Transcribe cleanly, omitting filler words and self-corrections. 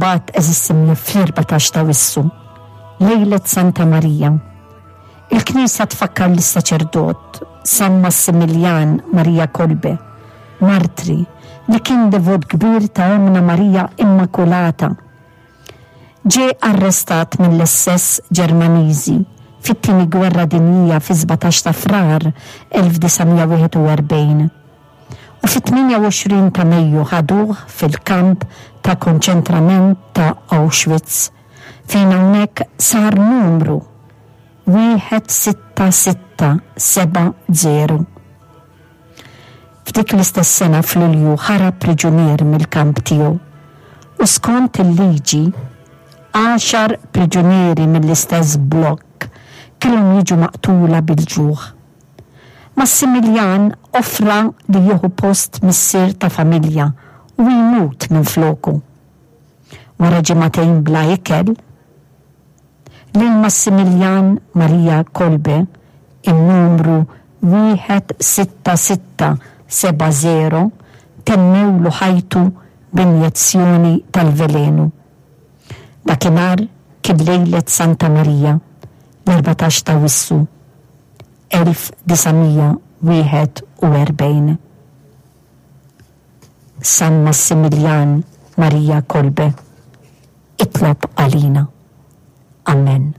Imbagħad għeżież simja fl-14 ta' Wissu, lejlet Santa Marija, il-Knisja tfakkar lis-saċerdot San Massimiljan Maria Kolbe, martri li kien devot kbir ta' Ommna Marija Immakulata. Ġie arrestat mill-SS Ġermaniżi fit-Tieni Gwerra Dinjija fis-17 ta' Frar 1941 u fit-28 ta' Mejju ħaduh fil-kamp ta' konċentrament ta' Auschwitz fejn hawnhekk sar numru 16670. F'dik l-istess sena f'Lulju ħarab priġunier mill-kamp tiegħu u skont il-liġi, għaxar priġunieri mill-istess blokk kellhom jiġu maqtula bil-ġuħ. Massimiljan offra li jieħu post missier ta' familja u jmut minfloku. Wara ġimagħtejn bla ikel, lil Massimiljan Maria Kolbe, in-numru 16670 temmewlu ħajtu b'injezzjoni tal-velenu. Dakinhar kien lejlet Santa Marija, l-14 t'Awwissu 1941. San Massimiljan Maria Kolbe, itlob għalina. Amen.